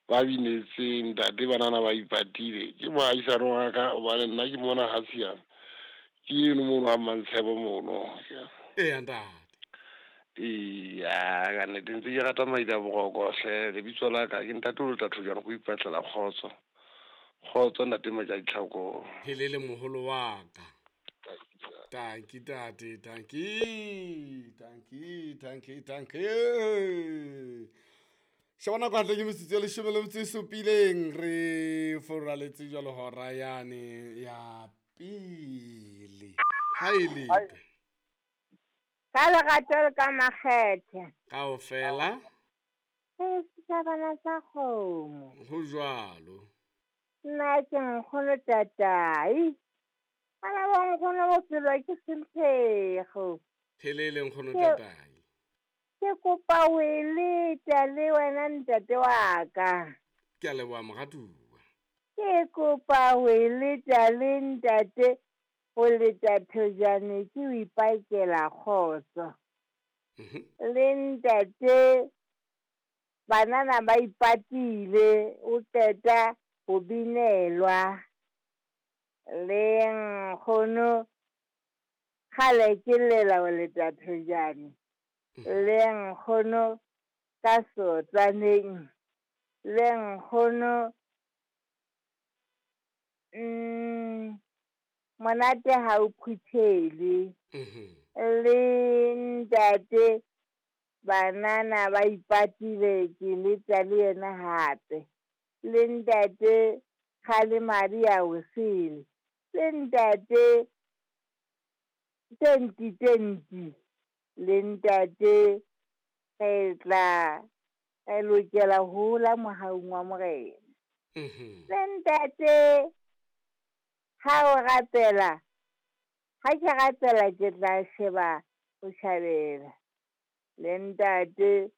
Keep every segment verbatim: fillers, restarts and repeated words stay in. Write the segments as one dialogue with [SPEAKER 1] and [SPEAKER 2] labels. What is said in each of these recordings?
[SPEAKER 1] Ba binetseng ntate banana ba ipatile. Ke moahisane wa ka hobane nna ke mona ha siame. Ke eno mono ha Mmantshepo mono.
[SPEAKER 2] Eya ntate.
[SPEAKER 1] Eya, ka nnete ntse ke rata maida boroko hle. Lebitso la ka ke ntate o tla thojana go ipatlela kgotso. Kgotso ntate Maja Ditlhako.
[SPEAKER 2] Helele moholo wa ka. Tanki tate, tanki, tanki, tanki, tanki. Sheba nako hantle ke metsotso e leshome le metso e supileng re foraletse jwalo hora yane ya pele. Ha e lete.
[SPEAKER 3] Ka lerato le ka makgethe.
[SPEAKER 2] Kaofela.
[SPEAKER 3] Re setjhabana sa kgomo.
[SPEAKER 2] Ho jwalo.
[SPEAKER 3] Nna ke nkgono tatai. Bana ba nkgono bophelo ke semphego.
[SPEAKER 2] Helele nkgono tatai.
[SPEAKER 3] Ke kopa o e leta le wena ntate wa ka.
[SPEAKER 2] Ke a leboha moratuwa.
[SPEAKER 3] Ke kopa o e leta le ntate ho leta thojane ke o ipakela kgotso. Le ntate banana ba ipatile o qeta ho binelwa. Le nkgono kgale ke lela ho leta thojane. Le nkgono ka sotsaneng. Le nkgono mm monate ha o phuthele. Le ntate banana ba ipatile ke letsa le yena hape. Le ntate kgale madi a o sele. Le ntate twenty twenty. Le ntate re tla re lokela ho hola mohaung wa Morena. Le ntate ha o rapela, ha ke rapela ke tla sheba botjhabela. Le ntate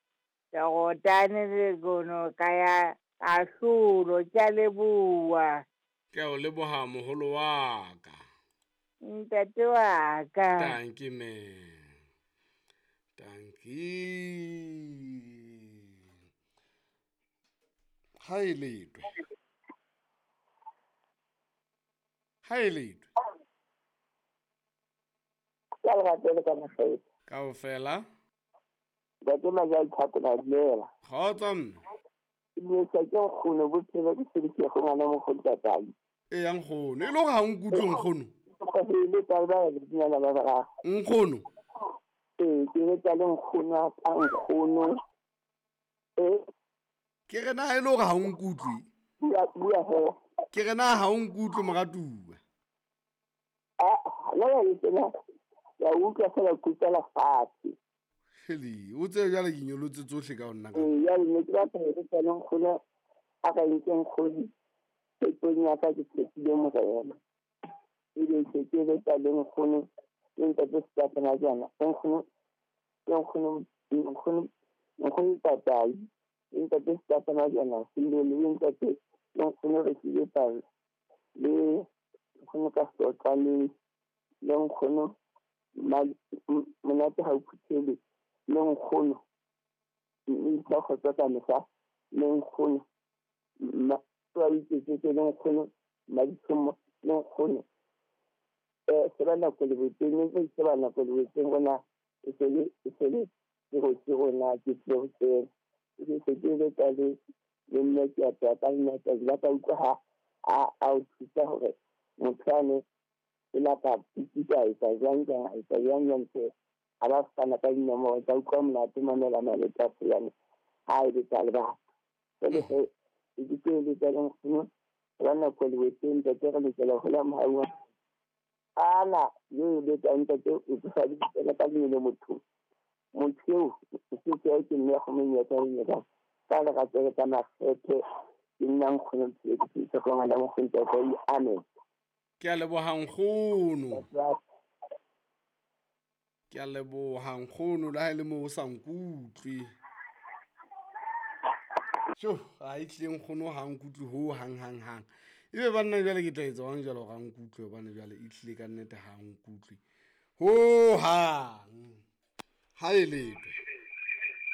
[SPEAKER 3] Jordan le kono ka ya kahlolo, ke a leboha.
[SPEAKER 2] Ke a o leboha moholo wa ka.
[SPEAKER 3] Ntate wa ka.
[SPEAKER 2] Tanki me. Tanki. Ha e letwe. Ha e letwe.
[SPEAKER 4] Ke a lerato le ka makgethe.
[SPEAKER 2] Kaofela.
[SPEAKER 4] Ntate Maja Ditlhako na dumela.
[SPEAKER 2] Kgotso mme.
[SPEAKER 4] Ke dumedisa ke nkgono bophelo ke sebedisa ngwana mokgolo tatai.
[SPEAKER 2] Eya nkgono, e le hore ha o nkutlwe nkgono.
[SPEAKER 4] Ke eletsa le ba bedinyana ba bararo.
[SPEAKER 2] Nkgono.
[SPEAKER 4] Ee, ke eletsa le nkgono wa ka nkgono. Eh.
[SPEAKER 2] Ke re na e le hore ha o nkutlwe.
[SPEAKER 4] Bua, bua he.
[SPEAKER 2] Ke re na ha o nkutlwe moratuwa.
[SPEAKER 4] Ah, la ya tsena. Ya utlwa fela kutlwela fatshe.
[SPEAKER 2] Hele, o tsebe jwale ke nyolotse tsohle ka ho nna ka.
[SPEAKER 4] Ee, jwale ne ke batla ho eletsa le nkgono a ka nke nkgono tshepong ya ka ke tshepile Morena. Ebe se ke eletsa le nkgono le ntate Setapana jana. Nkgono, nkgono, nkgono, nkgono tatai. Le ntate Setapana jana, Silo le ntate le nkgono re tlile palo. Le nkgono ka sotla le le nkgono monate ha o phuthele. Le nkgono ntho kgotsa ka mehla le nkgono ma wa iketsetse le nkgono maditshomo le nkgono eh se ba nako le boteng ntse se ba nako le boteng rona e se le e se le ke go ke rona ke tle ho tsena ke se ke le ka le le nna ke a tla ka nna ka la ka utlwa ha a a o thusa hore motho ane e lapa pitsa e tsa jwang jwang e tsa jwang jwang tse a ba fana ka dinomoro tsa utlwa monate mamela maleta yane ha e le tsa le batho jwale he e ke le tsa le nkgono ba nako le boteng ntate re lokela ho hola mohau wa ana yo le tsa ntate o tsa di tsela ka le motho motho eo o se ke ke nne go menyetla e nyetla ka lerato le ka makgethe ke nna nkgono ke ke go ngwana mo go amen.
[SPEAKER 2] Ke a leboha nkgono. Ke a leboha nkgono le ha e le moo o sa nkutlwe. Tjo, ha e tlile nkgono ha nkutlwe ho hang hang hang. Ebe banna jwale ke tla etsa jwang jwale hore a nkutlwe hobane jwale e tlile ka nnete ha nkutlwe. Ho hang. Ha e letwe.